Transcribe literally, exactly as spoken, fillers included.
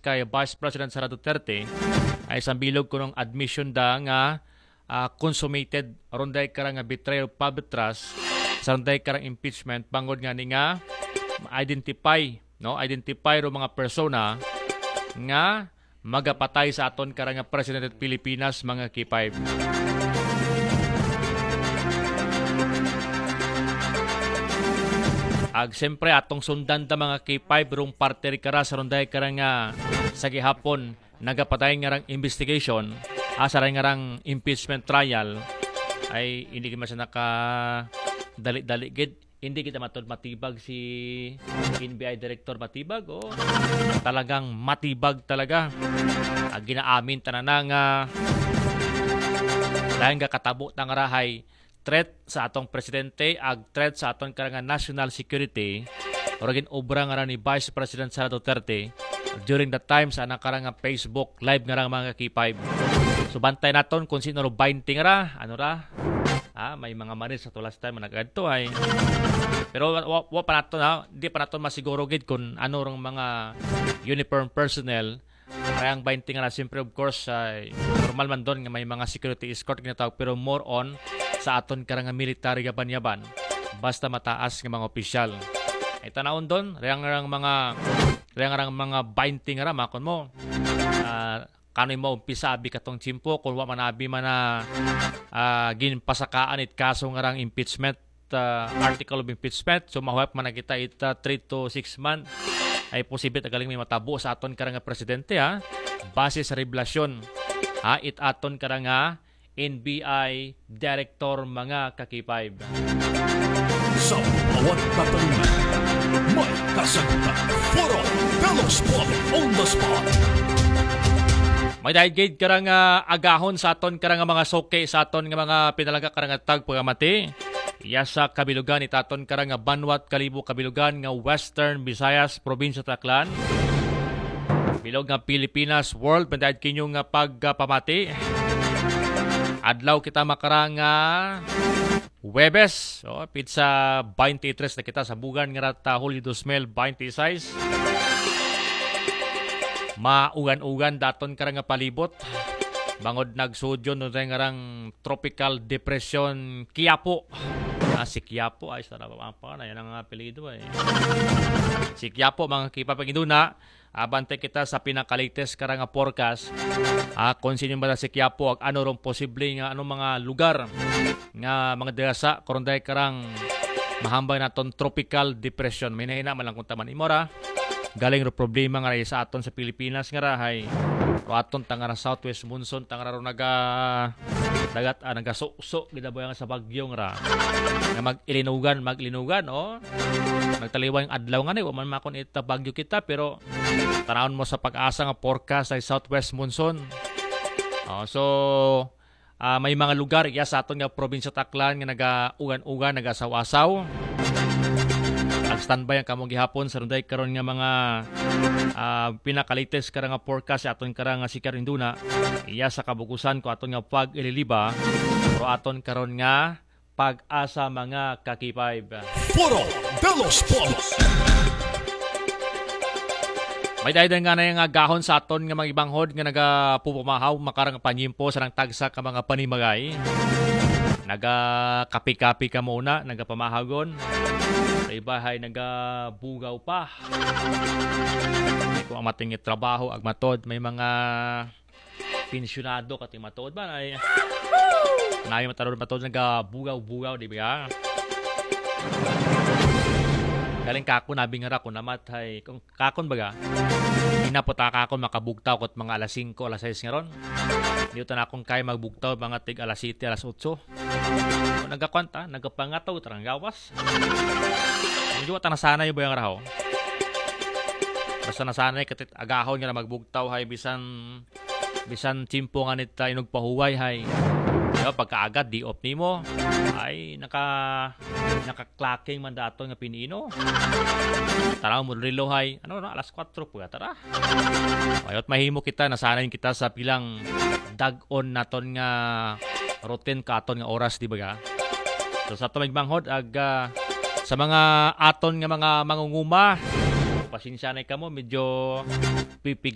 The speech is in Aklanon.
kay Vice President Sara Duterte, ay sambilog kunong admission da nga ah, consummated, aron dahil karang nga betrayal of public trust, sa aron dahil karang impeachment, bangod nga ni nga identify, no? Identify ro mga persona nga magapatay sa aton karang nga presidente sa Pilipinas, mga K five. Ag siyempre, atong sundan ta, mga K five, rong parte ri kara sa aron dahil karang nga sa gihapon nagapadayon nga rang investigation, ah, sa nga rang impeachment trial, ay hindi man siya naka dali-dali gid. Hindi kita matod matibag si N B I Director Matibag, o talagang matibag talaga. Ah, ginaamin tanan na nga dahil nga katabo tang rahay threat sa atong presidente, ag threat sa aton karang nga national security, o ragin obra nga ra ni Vice President Sara Duterte during the time sa anak karang nga Facebook Live nga rang, mga K five. So, bantay naton kung sino ro baynte nga ra, ano ra. Ah, may mga manis sa tulas time nagkadto ay. Pero wa, wa, wa pa naton, ha, di pa naton masiguro gid kung ano rong mga uniform personnel. Kaya ang baynte nga ra, siyempre, of course, ay normal man doon nga may mga security escort ginatawag, pero more on sa aton karang nga military yaban-yaban. Basta mataas nga mga opisyal. Ay tanawon doon, rayang rang mga, rayang rang mga baynte nga ra, makon mo. Ah, kano yung maumpisa abi katong tiyempo, kung wa man abi man na, ah, ginpasakaan it kaso nga rang impeachment, ah, article of impeachment. So, mahuwap man na kita it, ah, three to six months. Ay posible ta galing may matabo sa aton karang nga presidente, ha. Base sa revelasyon, ha, it aton karang nga N B I Director, mga ka-K five. Sa bawat tatalima, may kasagutan. Foro de los Spot on the Spot. May dahil gid karang, ah, agahon sa aton karang mga suki, sa aton nga mga pinalangga karang tagpakamati. Iya sa kabilugan it aton karang Banwat Kalibo kabilugan nga Western Visayas, Probinsya Taclan. Bilog nga Pilipinas World, may dahil kinyo nga pagpamati. Adlaw kita makarang, ah, Huwebes, o, pizza twenty-three na kita sa bugan nga rata Hulyo dos mil twenty-six. Maugan-ugan daton karang nga palibot. Bangod nagsudyon no nga rang Tropical Depression Quiapo. Ah, si Quiapo, ay, sa pa na, yan ang apelyido, eh. Si Quiapo, mga kipapaginduna, abante kita sa pinakalites karang nga forecast. Ah, kung sino ba si Quiapo, ag ano rong posible nga ano mga lugar nga mga dira sa karon dahil karang mahambay naton tropical depression. May nahina man lang kung taman imo ra. Galing ro problema nga sa aton sa Pilipinas nga rahay. Ro aton tangara southwest monsoon, tangara ro naga dagat, ah, nagasukso gid ang buhay nga sa bagyo nga ra. Nga mag-ilinugan, mag-ilinugan, o. Nagtaliwang adlaw nga ni, wa man makon ita bagyo kita, pero tanawon mo sa pag-asa nga forecast ay southwest monsoon. O, so, ah, may mga lugar iya sa aton nga probinsya Taclan nga nagaugan-ugan, nagasaw-asaw. Ag standby ang kamong gihapon sa runday karon nga mga, ah, pinakalites karang nga forecast sa aton karang nga sikar induna. Iya sa kabukusan ko aton nga pag-ililiba, pero aton karon nga pag-asa, mga ka-K five. Foro de los Pueblos. May dayday nga na nga gahon sa aton nga mga ibanghod nga nagapupamahaw makarang panyimpo sa nang tagsa ka mga panimagay. Nagakapi-kapi ka muna, nagapamahagon. Sa iba hay nagabugaw pa. Ay, kung ang matingit trabaho, agmatod, may mga pensyonado kati matuod ba ay nayo mataro matuod nagabugaw-bugaw, di ba? Galing kako nabing ra ko namat hay kung kakon baga. Ina po ta kakon makabugtaw kot mga alas singko, alas sais nga ron. Di ta na akong kay magbugtaw mga tig alas siyete, alas otso. Nagakwanta, nagapangataw tarang gawas. Medyo wata nasanay ba yung raho? Basta nasanay katit agahon nga na magbugtaw hay bisan bisan tiyempo nga nita inugpahuway hay. Diba, pagkaagad di off nimo. Ay naka nakaklaking man dato nga pinino. Tara mo rilo hay. Ano na, alas kwatro po tara. Mayot mahimo kita, nasanay kita sa pilang dag-on naton nga routine ka aton nga oras, di ba ga? So sa tumig manghod ag ah, sa mga aton nga mga mangunguma, pasensya na kamo, medyo pipiga